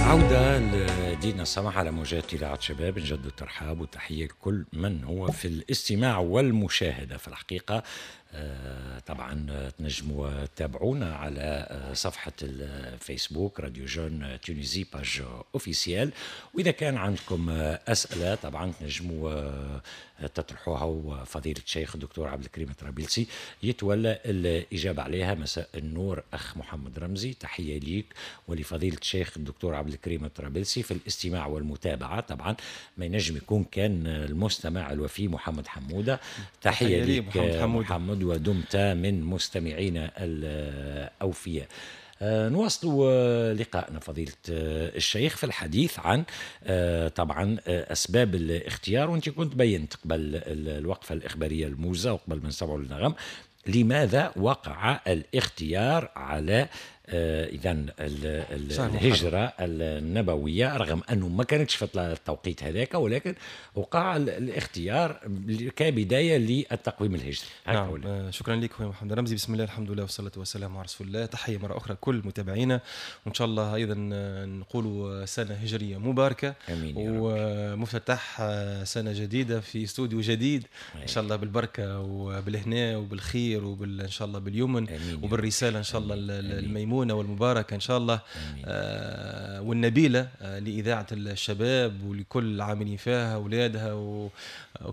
عودة لدينا السماح على موجات إذاعة شباب. نجدد الترحاب والتحية لكل من هو في الاستماع والمشاهدة. في الحقيقة طبعا تنجموا تتابعونا على صفحة الفيسبوك Radio Jeunes Tunisie page officielle، وإذا كان عندكم أسئلة طبعا تنجموا تطرحوها، وفضيلة الشيخ الدكتور عبد الكريم الطرابلسي يتولى الإجابة عليها. مساء النور أخ محمد رمزي، تحية ليك ولفضيلة الشيخ الدكتور عبد الكريم الطرابلسي في الاستماع والمتابعة. طبعا ما ينجم يكون كان المستمع الوفي محمد حمودة، تحية ليك محمد، ودمت من مستمعينا الأوفياء. نواصل لقاءنا فضيلة الشيخ في الحديث عن طبعا أسباب الاختيار، وأنت كنت بينت قبل الوقفة الإخبارية الموزة وقبل ما نسمعوا النغم لماذا وقع الاختيار على إذا الهجرة النبوية، رغم أنه ما كانتش في التوقيت هذاك، ولكن وقع الاختيار كبداية للتقويم الهجري. نعم. شكرا لك خويا محمد رمزي. بسم الله الحمد لله والصلاة والسلام على رسول الله. تحية مرة أخرى كل متابعينا، وإن شاء الله أيضا نقول سنة هجرية مباركة. آمين يا رب. ومفتتح سنة جديدة في استوديو جديد. إن شاء الله بالبركة وبالهناء وبالخير إن شاء الله باليمن وبالرسالة إن شاء الله الميمونة والمباركة إن شاء الله والنبيلة لإذاعة الشباب ولكل العاملين فيها، أولادها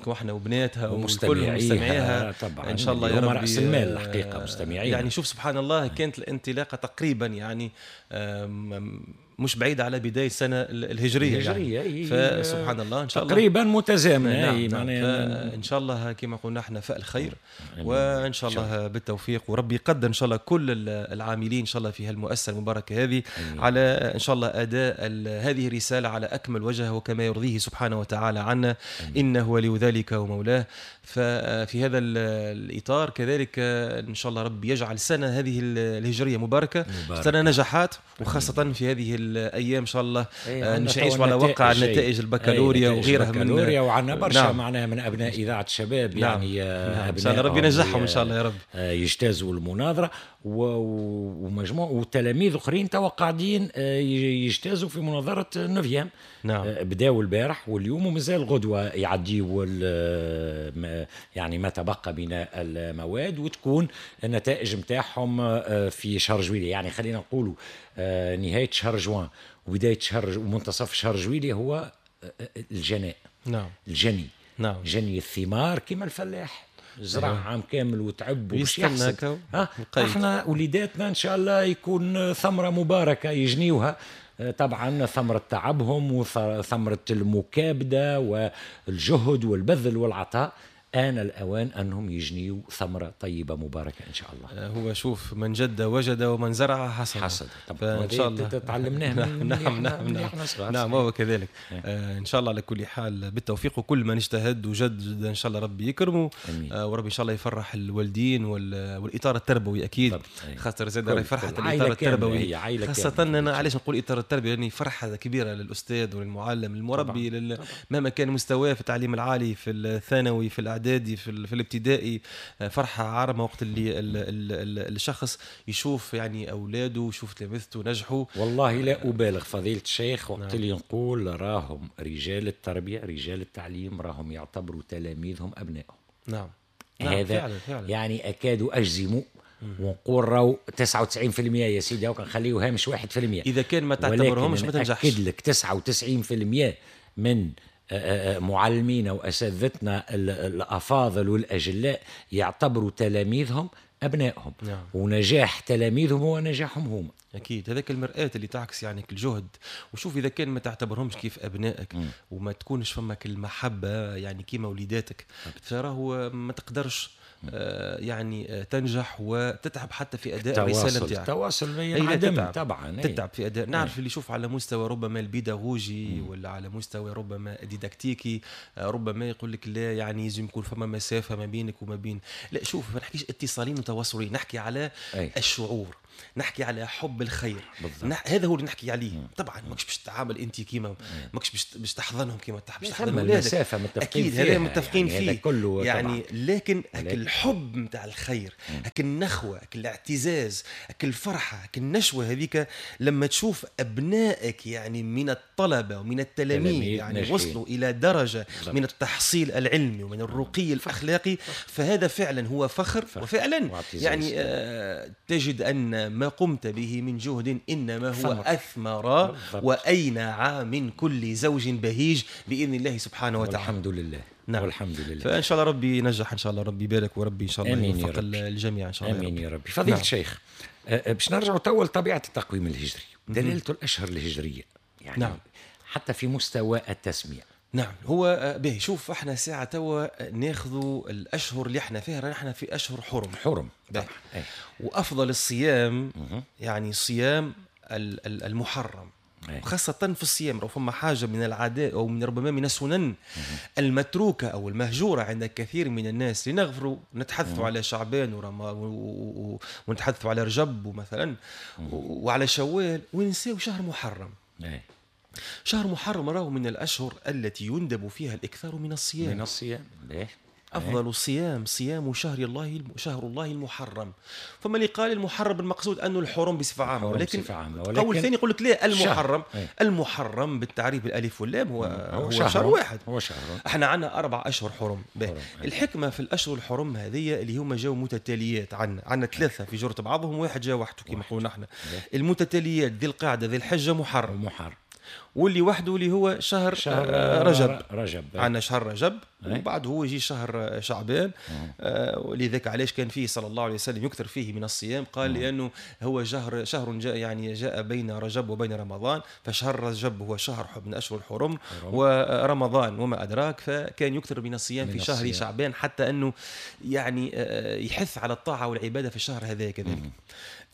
وإحنا وبناتها وكل مستمعيها طبعا. إن شاء الله يا رب. رأس المال الحقيقة مستمعين. يعني شوف سبحان الله، كانت الانطلاقة تقريبا يعني مش بعيدة على بداية السنة الهجرية يعني. فسبحان الله إن شاء الله تقريبا متزامنة. نعم. نعم. إن شاء الله كما قلنا احنا فأل خير، وإن شاء الله بالتوفيق، وربي يقدر إن شاء الله كل العاملين إن شاء الله في هالمؤسسة المباركة هذه على إن شاء الله أداء هذه الرسالة على أكمل وجه وكما يرضيه سبحانه وتعالى عنا، إنه ولي ذلك ومولاه. ففي هذا الإطار كذلك إن شاء الله ربي يجعل سنة هذه الهجرية مباركة، سنة نجاحات، وخاصة في هذه الأيام إن شاء الله نعيش على وقع نتائج البكالوريا وغيرها من وعنا برشا. نعم. معناها من أبناء إذاعة الشباب. نعم. يعني نعم. إن شاء الله ربي ينجحهم إن شاء الله يا رب، يجتازوا المناظرة ومجموع، وتلاميذ أخرين توا قاعدين يجتازوا في مناظرة neuvième. نعم. بداوا البارح واليوم ومازال غدوة يعديوا يعني ما تبقى من المواد، وتكون النتائج متاعهم في شهر جويلية. يعني خلينا نقولوا نهاية شهر جوان وبداية شهر ومنتصف شهر جويلية هو الجناء. نعم. الجني. نعم. جني الثمار كما الفلاح زرع عام كامل وتعب وباش يحصد. احنا وليداتنا ان شاء الله يكون ثمرة مباركة يجنيوها، طبعا ثمرة تعبهم وثمرة المكابدة والجهد والبذل والعطاء. آن الأوان أنهم يجنيوا ثمرة طيبة مباركة إن شاء الله. هو شوف، من جد وجد ومن زرع حصد. فإن شاء الله تعلمناه من نعم نعم نعم نعم هو كذلك. إن شاء الله على كل حال بالتوفيق، وكل من اجتهد وجد إن شاء الله ربي يكرمه، وربي إن شاء الله يفرح الوالدين والإطار التربوي أكيد، خاطر زاد راهي فرحة الإطار التربوي، خاصة أنا علاش نقول إطار التربوي، لأني فرحة كبيرة للأستاذ وللمعلم المربي، مهما كان مستواه في التعليم العالي، في الثانوي، في الإعدادي، في الابتدائي، فرحة عارمة وقت اللي الشخص يشوف يعني أولاده ويشوف تلامذته نجحوا. والله لا أبالغ فضيلة الشيخ وقت اللي نقول راهم رجال التربية رجال التعليم راهم يعتبروا تلاميذهم أبنائهم. نعم. نعم. هذا فعلا فعلا. يعني أكاد أجزم ونقول راهو 99% يا سيدي، وكنخليه هامش 1%. إذا كان ما تعتبرهمش ما تنجحش. أكد لك 99% من معلمينا وأساتذتنا الأفاضل والأجلاء يعتبروا تلاميذهم أبنائهم. نعم. ونجاح تلاميذهم هو نجاحهم هم. أكيد هذاك المرآة اللي تعكس يعني الجهد. وشوف إذا كان ما تعتبرهمش كيف أبنائك وما تكونش فمك المحبة يعني كيما وليداتك، فراهو ما تقدرش يعني تنجح وتتعب حتى في أداء الرسالة نتاعك. التواصل ينعدم طبعا، تتعب في أداء. نعرف اللي يشوف على مستوى ربما البيداغوجي ولا على مستوى ربما الديداكتيكي، ربما يقول لك لا يعني لازم يكون فما مسافة ما بينك وما بين، لا شوف ما نحكيش اتصالين وتواصلين، نحكي على الشعور. نحكي على حب الخير. هذا هو اللي نحكي عليه. طبعا ماكش باش تتعامل انت كيما ماكش باش تحضنهم كيما باش تحضن ولادك، اكيد هذا متفقين فيه كله يعني. لكن هك الحب نتاع الخير، هك النخوه، هك الاعتزاز، هك الفرحة، هك النشوة هذيك لما تشوف ابنائك يعني من الطلبة ومن التلاميذ يعني وصلوا الى درجه من التحصيل العلمي ومن الرقي الاخلاقي، فهذا فعلا هو فخر. وفعلا يعني تجد ان ما قمت به من جهد انما هو اثمر واينع من كل زوج بهيج باذن الله سبحانه وتعالى. والحمد لله. نعم. والحمد لله. فان شاء الله ربي ينجح، ان شاء الله ربي يبارك، وربي ان شاء الله يوفق الجميع ان شاء الله. امين يا ربي. فضيلة الشيخ، باش نرجعوا تو لطبيعة التقويم الهجري، دلالة الاشهر الهجرية يعني. نعم. حتى في مستوى التسمية. نعم هو به. شوف احنا ساعة توا ناخذوا الاشهر اللي احنا فيها، احنا في اشهر حرم. حرم طبعا. وافضل الصيام يعني صيام المحرم، خاصة في الصيام. لو فما حاجة من العادات أو من ربما من السنن المتروكة أو المهجورة عند كثير من الناس، لنغفروا نتحدثوا على شعبان ونتحدثوا على رجب مثلا وعلى شوال، وننساو شهر محرم. شهر محرم راهو من الأشهر التي يندب فيها الإكثار من الصيام. من الصيام. أفضل الصيام صيام شهر الله، شهر الله المحرم. فما اللي قال المحرم المقصود أنه الحرم بصفة عامة، ولكن قول ثاني يقول لك لا، المحرم شهر. المحرم بالتعريف بالألف واللام هو شهر واحد. هو شهر. احنا عندنا 4 أشهر حرم. الحكمة في الأشهر الحرم هذه اللي هما جاو متتاليات، عندنا 3 في جرة بعضهم، واحد جا وحده كما قلنا احنا. المتتاليات ذي القعدة، ذي الحجة، محرم. واللي وحده اللي هو شهر رجب. عندنا شهر رجب وبعد هو يجي شهر شعبان. ولذلك علاش كان فيه صلى الله عليه وسلم يكثر فيه من الصيام، قال لأنه هو شهر جاء يعني جاء بين رجب وبين رمضان، فشهر رجب هو شهر من أشهر الحرم، ورمضان وما أدراك، فكان يكثر من الصيام في شهر شعبان حتى أنه يعني يحث على الطاعة والعبادة في الشهر هذا كذلك.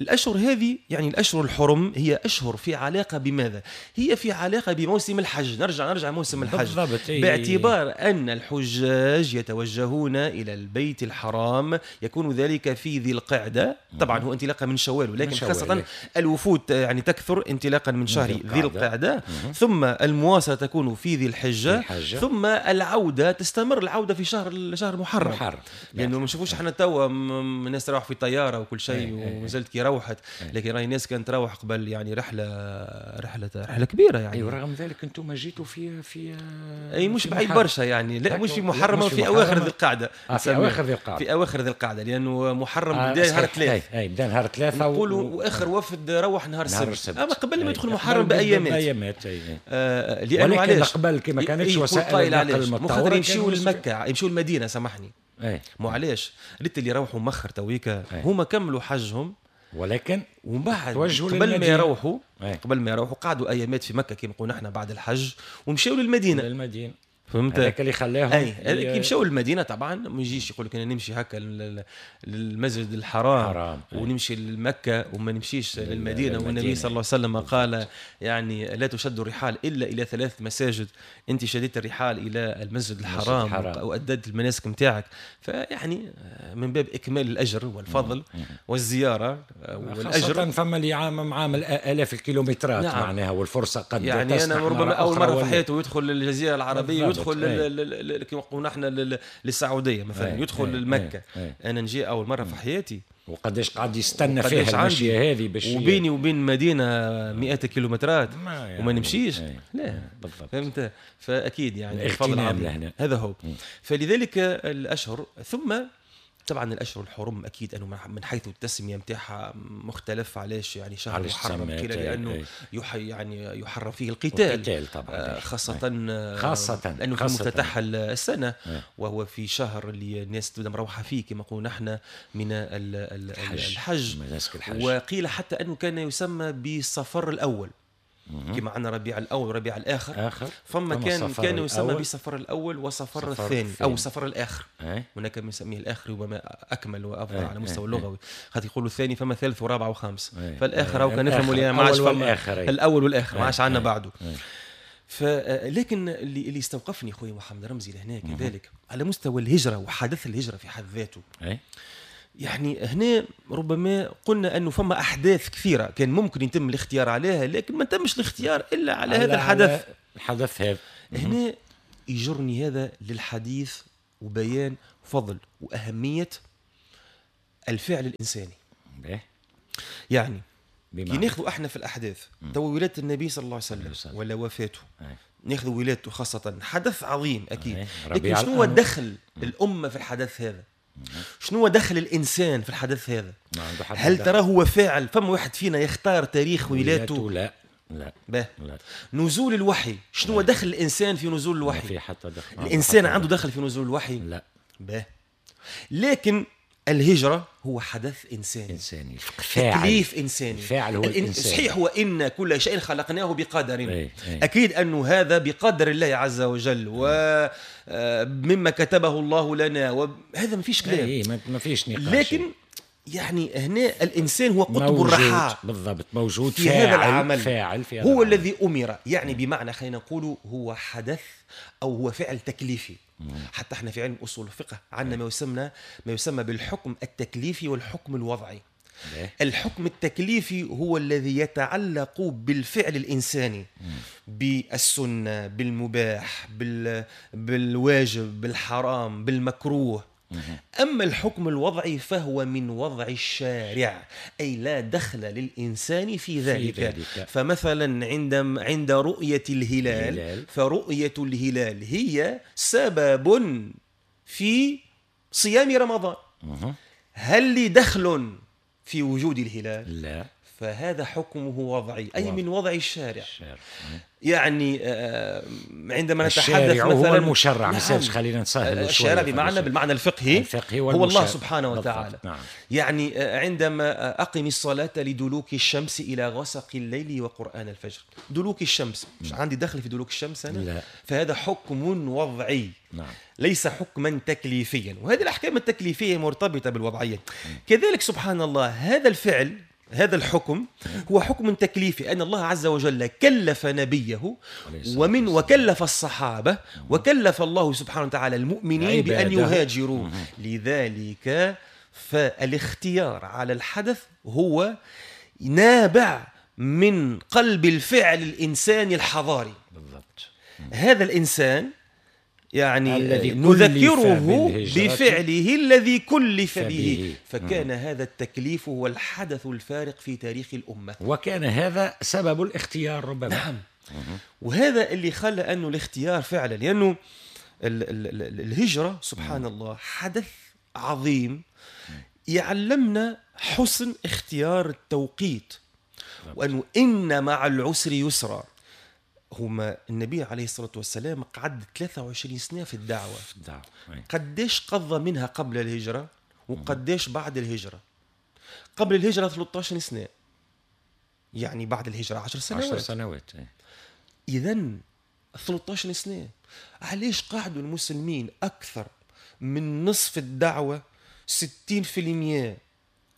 الأشهر هذه يعني الأشهر الحرم هي أشهر في علاقة بماذا؟ هي في علاقة بموسم الحج. نرجع موسم الحج بالضبط. باعتبار أن الحجاج يتوجهون إلى البيت الحرام، يكون ذلك في ذي القعدة. طبعا هو انطلاقا من شوال، ولكن خاصة الوفود يعني تكثر انطلاقا من شهر ذي القعدة، ثم المواصلة تكون في ذي الحجة، ثم العودة تستمر العودة في شهر محرم. لأنه ما نشوفوش احنا توا الناس تروح في طيارة وكل شيء ومازالت كي روحت، لكن راهي الناس كانت تروح قبل يعني رحلة كبيرة يعني. أيوة، رغم ذلك انتم جيتوا في اي مش بعيد برشا يعني، لا مش في محرم، في اواخر ذي القعدة. في اواخر ذي القعدة، في اواخر ذي القعدة، لانه محرم بدا نهار 3. اي بدا نهار 3 نقولوا واخر وفد روح نهار السبت، اما قبل ما يدخل محرم بايامات. لانه علاش قبل كي ما كانتش وسائل النقل المتطورة يمشيوا لمكة، يمشيوا للمدينة، سامحني. مو علاش ريت اللي روحوا مخر تويكا هما كملوا حجهم، ولكن ومن بعد قبل ما يروحوا قعدوا ايامات في مكة كما قلنا احنا بعد الحج، ومشاو للمدينة. فهمت؟ هذاك اللي خلاهم اي كي مشاو للمدينة. طبعا ما يجيش يقول لك انا نمشي هكا للمسجد الحرام ونمشي لمكة وما نمشيش للمدينة. والنبي صلى الله عليه وسلم قال يعني لا تشد الرحال الا الى 3 مساجد، انت شديت الرحال الى المسجد الحرام واديت المناسك نتاعك، فيعني من باب اكمال الاجر والفضل والزيارة والاجر. خاصة فما اللي عامل الاف الكيلومترات. نعم. معناها والفرصة قد يعني انا ربما اول مرة في حياته يدخل للجزيرة العربية، يدخل كما قلنا احنا للسعودية مثلا، يدخل لمكة. انا نجي اول مرة في حياتي، وقداش قاعد يستنى فيها المشية هذه باش وبيني وبين مدينة مئات الكيلومترات يعني وما نمشيش. لا بالضبط. فهمت؟ فاكيد يعني الفضل عظيم. هذا هو. فلذلك الاشهر، ثم طبعا الاشهر الحرم اكيد انه من حيث التسمية نتاعها مختلف. علاش يعني شهر محرم؟ قيل لانه يعني يحرم فيه القتال طبعا، خاصة لانه في مفتتح السنة، وهو في شهر اللي الناس تبدا مروحة فيه كما قلنا احنا من الحج. وقيل حتى انه كان يسمى بالصفر الاول، كما عندنا ربيع الاول وربيع الاخر. فما كان يسمى بصفر الاول وصفر الثاني او صفر الاخر. هناك من يسميه الاخر ربما اكمل وافضل على مستوى اللغوي، خاطر يقولوا الثاني فما ثالث ورابع وخامس. فالاخر هو كان نفهموا اللي ما عادش فما الاول والاخر، ما عادش عندنا بعده. فلكن اللي استوقفني خويا محمد رمزي لهنا كذلك على مستوى الهجرة وحدث الهجرة في حد ذاته. يعني هنا ربما قلنا أنه فما أحداث كثيرة كان ممكن يتم الاختيار عليها، لكن ما تمش الاختيار إلا على هذا الحدث. الحدث هذا هنا يجرني هذا للحديث وبيان فضل وأهمية الفعل الإنساني. يعني كي ناخذ احنا في الأحداث تو ولادة النبي صلى الله عليه وسلم ولا وفاته، ناخذ ولادته خاصة حدث عظيم أكيد، لكن شنو دخل الأمة في الحدث هذا؟ شنو دخل الإنسان في الحدث هذا؟ هل ترى هو فاعل؟ فما واحد فينا يختار تاريخ ولادته؟ لا لا. لا. نزول الوحي، شنو دخل الإنسان في نزول الوحي؟ ما في حتى دخل. الإنسان عنده دخل في نزول الوحي؟ لا. لكن الهجرة هو حدث إنساني، تكليف إنساني، الفاعل هو الإنسان. صحيح، هو إن كل شيء خلقناه بقدر، أكيد أنه هذا بقدر الله عز وجل ومما كتبه الله لنا، وهذا ما فيش كلام، ما فيش نقاش. لكن يعني هنا الإنسان هو قطب الرحى، بالضبط، موجود في هذا العمل، فاعل في هذا هو العمل. الذي أمر، يعني بمعنى خلينا نقول هو حدث أو هو فعل تكليفي. حتى احنا في علم أصول الفقه عندنا ما يسمى بالحكم التكليفي والحكم الوضعي. الحكم التكليفي هو الذي يتعلق بالفعل الإنساني، بالسنة، بالمباح، بالواجب، بالحرام، بالمكروه. أما الحكم الوضعي فهو من وضع الشارع، أي لا دخل للإنسان في ذلك. فمثلا عند رؤية الهلال، فرؤية الهلال هي سبب في صيام رمضان. هل لي دخل في وجود الهلال؟ لا. فهذا حكمه وضعي، أي من وضع الشارع. يعني عندما نتحدث مثلا هو المشرع، نعم. خلينا نسهل الشارع بمعنى بالمعنى الفقهي هو الله سبحانه وتعالى. نعم. يعني عندما أقم الصلاة لدلوك الشمس إلى غسق الليل وقرآن الفجر، دلوك الشمس مش عندي دخل في دلوك الشمس أنا؟ لا. فهذا حكم وضعي، نعم. ليس حكما تكليفيا، وهذه الأحكام التكليفية مرتبطة بالوضعية. كذلك سبحان الله هذا الفعل، هذا الحكم هو حكم تكليفي، أن الله عز وجل كلف نبيه وكلف الصحابة وكلف الله سبحانه وتعالى المؤمنين بأن يهاجروا. لذلك فالاختيار على الحدث هو نابع من قلب الفعل الإنساني الحضاري. بالضبط. هذا الإنسان يعني نذكره بفعله الذي كلف به، فكان هذا التكليف هو الحدث الفارق في تاريخ الأمة، وكان هذا سبب الاختيار ربما. نعم. وهذا اللي خلى أنه الاختيار فعلا، لأنه الهجرة سبحان الله حدث عظيم يعلمنا حسن اختيار التوقيت، وأنه إن مع العسر يسرا. هما النبي عليه الصلاة والسلام قعد 23 سنة في الدعوة. قديش قضى منها قبل الهجرة وقديش بعد الهجرة؟ قبل الهجرة 13 سنة، يعني بعد الهجرة 10 سنوات. 10 سنوات. إذن 13 سنة، علاش قعدوا المسلمين أكثر من نصف الدعوة، 60%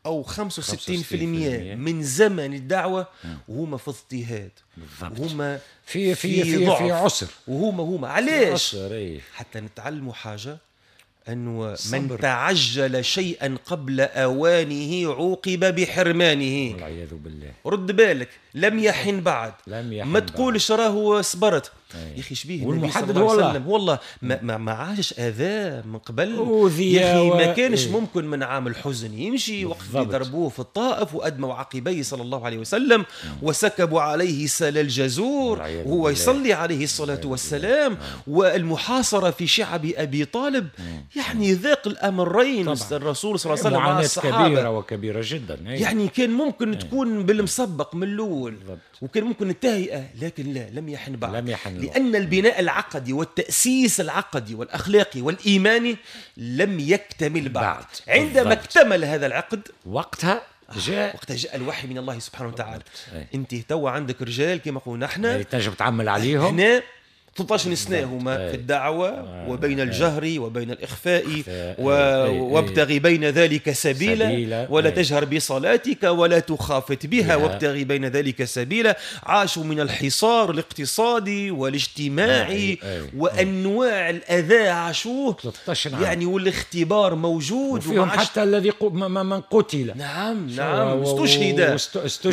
أو 65% من زمن الدعوة وهما في اضطهاد، وهما في في في, في عسر، وهما علاش؟ حتى نتعلموا حاجة، أنه من تعجل شيئا قبل أوانه عوقب بحرمانه، والعياذ بالله. رد بالك، لم يحن بعد، ما تقولش راهو صبرت. يا أخي شبيه النبي صلى الله عليه وسلم والله ما عاش أذى من قبل يا أخي، ما كانش ممكن من عام الحزن يمشي وقت ضربوه في الطائف وأدموا عقبيه صلى الله عليه وسلم وسكبوا عليه سل الجزور وهو يصلي عليه الصلاة والسلام، والمحاصرة في شعب أبي طالب. يعني ذاق الأمرين الرسول صلى الله عليه وسلم مع الصحابة، كبيرة وكبيرة جدا. يعني كان ممكن تكون بالمسبق من الأول، وكان ممكن التهيئة، لكن لا، لم يحن بعد، لم يحن، لأن البناء العقدي والتأسيس العقدي والأخلاقي والإيماني لم يكتمل بعد. عندما اكتمل هذا العقد وقتها جاء الوحي من الله سبحانه وتعالى. انت توا عندك رجال كما قلنا احنا يعني تنجم تعمل عليهم، هنا 13 سنة هما في الدعوة وبين الجهر وبين الإخفاء وابتغي بين ذلك سبيلا ولا تجهر بصلاتك ولا تخافت بها وابتغي بين ذلك سبيلا. عاشوا من الحصار الاقتصادي والاجتماعي وأنواع الأذى عاشوه 13 عام يعني، والاختبار موجود، وفيهم حتى الذي من قتل. نعم نعم، استشهد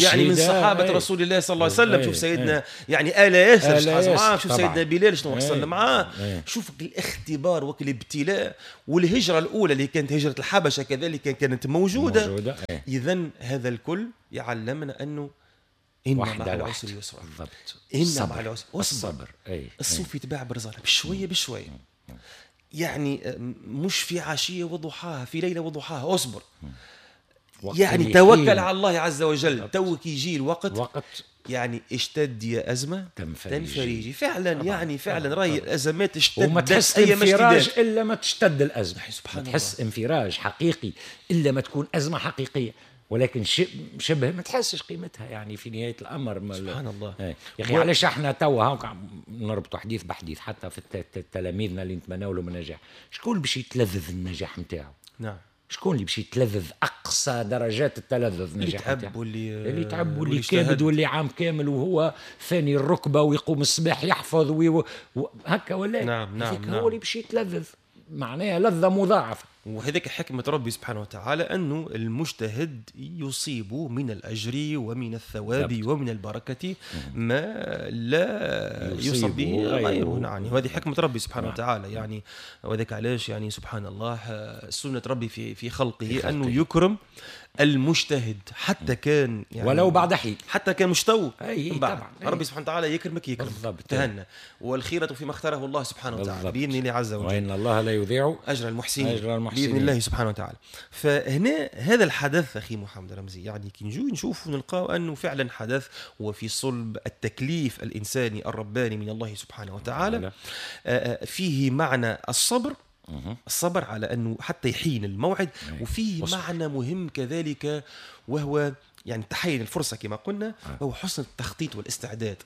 يعني من صحابة رسول الله صلى الله عليه وسلم. شوف سيدنا يعني آل ياسر، شوف سيدنا بلال شنو حصل معاه. شوف الاختبار والابتلاء. والهجرة الأولى اللي كانت هجرة الحبشة كذلك كانت موجودة. إذن هذا الكل يعلمنا أنه إن مع العسر يسرا. بالضبط، إن مع العسر الصبر. الصوف يتباع برزالة بشوية بشوية، يعني مش في عشية وضحاها، في ليلة وضحاها. أصبر يعني، توكل على الله عز وجل. توك يجي الوقت يعني اشتد يا أزمة تنفريجي. فعلا طبعًا. يعني فعلا راهي الأزمات اشتدت، وما تحس انفراج إلا ما تشتد الأزمة. سبحان الله، تحس انفراج حقيقي إلا ما تكون أزمة حقيقية، ولكن شبه ما تحسش قيمتها يعني في نهاية الأمر. سبحان الله يا أخي. علاش احنا توا نربطوا حديث بحديث حتى في تلاميذنا اللي نتمناو لهم النجاح، شكون باش يتلذذ النجاح نتاعو؟ نعم، شكون اللي باش يتلذذ اقصى درجات التلذذ نجاح؟ اللي تعب واللي تعب واللي كابد واللي عام كامل وهو ثاني الركبة ويقوم الصباح يحفظ هكا ولا؟ نعم نعم، نعم. هو اللي باش يتلذذ، معناها لذة مضاعفه. وهذيك حكمة ربي سبحانه وتعالى، أنه المجتهد يصيب من الأجر ومن الثواب ومن البركة ما لا يصيب به غيره. يعني وهذه حكمة ربي سبحانه وتعالى يعني. وذاك علاش يعني سبحان الله سنة ربي في خلقه أنه يكرم المجتهد حتى كان يعني ولو بعد حين، حتى كان مش تو بعد. ربي سبحانه وتعالى يكرمك يكرمك تهنى، والخيرة فيما اختاره الله سبحانه وتعالى بإذن الله عز وجل، وإن الله لا يضيع أجر المحسنين بإذن الله سبحانه وتعالى. فهنا هذا الحدث أخي محمد رمزي يعني كي نجو نشوف ونلقاو أنه فعلا حدث وفي صلب التكليف الإنساني الرباني من الله سبحانه وتعالى، فيه معنى الصبر، الصبر على أنه حتى يحين الموعد، وفيه معنى مهم كذلك وهو يعني تحين الفرصة كما قلنا، وهو حسن التخطيط والاستعداد.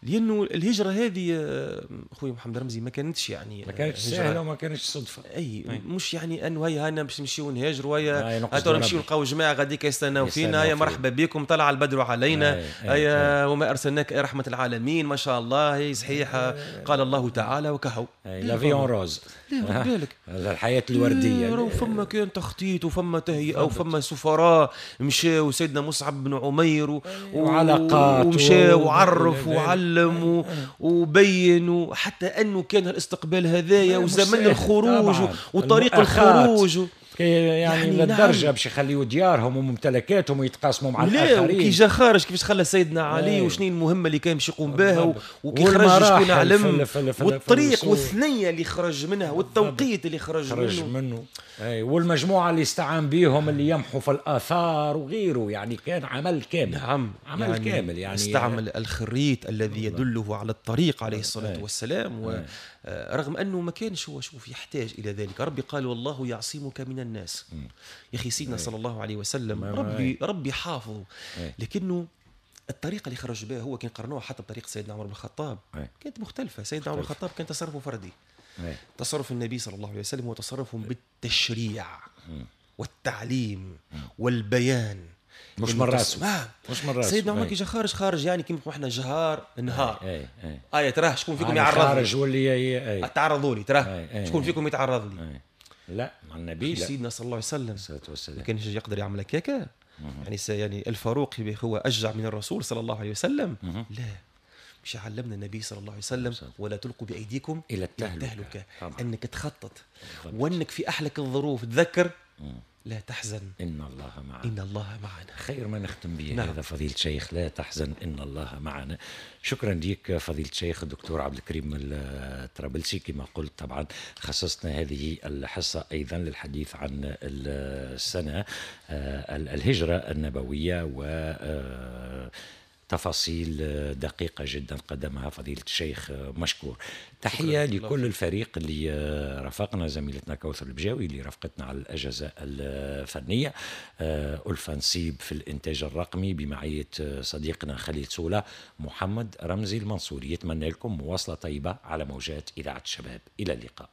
لأنه الهجرة هذه أخوي محمد رمزي ما كانتش يعني ما كانتش سهلة وما كانتش صدفة. أي مش يعني أنه هيا هانا باش نمشيو نهاجروا، هيا هاتوا نمشيو نلقاو جماعة غاديك يستناو فينا، هيا مرحبا بكم طلع البدر علينا، هيا وما أرسلناك رحمة العالمين ما شاء الله، هي صحيح قال الله تعالى وكهو la vie en rose. لا بالك الحياة الوردية. فما كان تخطيط وفما تهيئة وفما سفراء مشاو، سيدنا مصعب بن عمير وعلاقات ومشى وعرف وعلم وبين، حتى انه كان الاستقبال هذايا وزمن الخروج وطريق الخروج يعني للدرجة باش يخليوا ديارهم وممتلكاتهم ويتقاسموا مع الاخرين. وكي جا خارج كيفاش خلى سيدنا علي وشنو المهمة اللي كان باش يقوم بها، وكي خرج شكون علم، والطريق والثنيه اللي خرج منها والتوقيت اللي خرج منه. اي والمجموعة اللي استعان بهم اللي يمحوا في الاثار وغيره، يعني كان عمل كامل. نعم، عمل يعني كامل يعني استعمل الخريط الذي يدله على الطريق عليه الصلاة والسلام. ورغم انه ما كانش هو شوف يحتاج الى ذلك، ربي قال والله يعصمك من الناس. يا اخي سيدنا صلى الله عليه وسلم ربي حافظه، لكنه الطريقة اللي خرج بها هو كان قرنوها حتى بطريقة سيدنا عمر بن الخطاب كانت مختلفة. سيدنا عمر بن الخطاب كان تصرفه فردي، تصرف النبي صلى الله عليه وسلم هو تصرف بالتشريع والتعليم والبيان، مش من راسه. مش من راسه. سيدنا عمر كي جا خارج يعني كيما احنا جهار نهار آية تراه شكون فيكم يعرض خارج واللي تعرضوا لي، تراه شكون فيكم يتعرض لي. لا مع النبي، لا. سيدنا صلى الله عليه وسلم ما كانش يقدر يعمل هكاكا. يعني الفاروق هو أشجع من الرسول صلى الله عليه وسلم. لا، مش علمنا النبي صلى الله عليه وسلم ولا تلقوا بأيديكم إلى التهلكة، أنك تخطط وأنك في أحلك الظروف تذكر لا تحزن إن الله معنا، إن الله معنا. خير ما نختم به. نعم. هذا فضيلة الشيخ، لا تحزن إن الله معنا. شكرا لك فضيلة الشيخ الدكتور عبد الكريم الطرابلسي. كما قلت طبعا خصصنا هذه الحصة أيضا للحديث عن السنة الهجرة النبوية و تفاصيل دقيقة جدا قدمها فضيلة الشيخ مشكور. تحية لكل الفريق اللي رافقنا، زميلتنا كوثر البجاوي اللي رافقتنا على الأجهزة الفنية، ألفة نصيب في الإنتاج الرقمي بمعية صديقنا خليل سولة، محمد رمزي المنصوري يتمنى لكم مواصلة طيبة على موجات إذاعة الشباب. إلى اللقاء.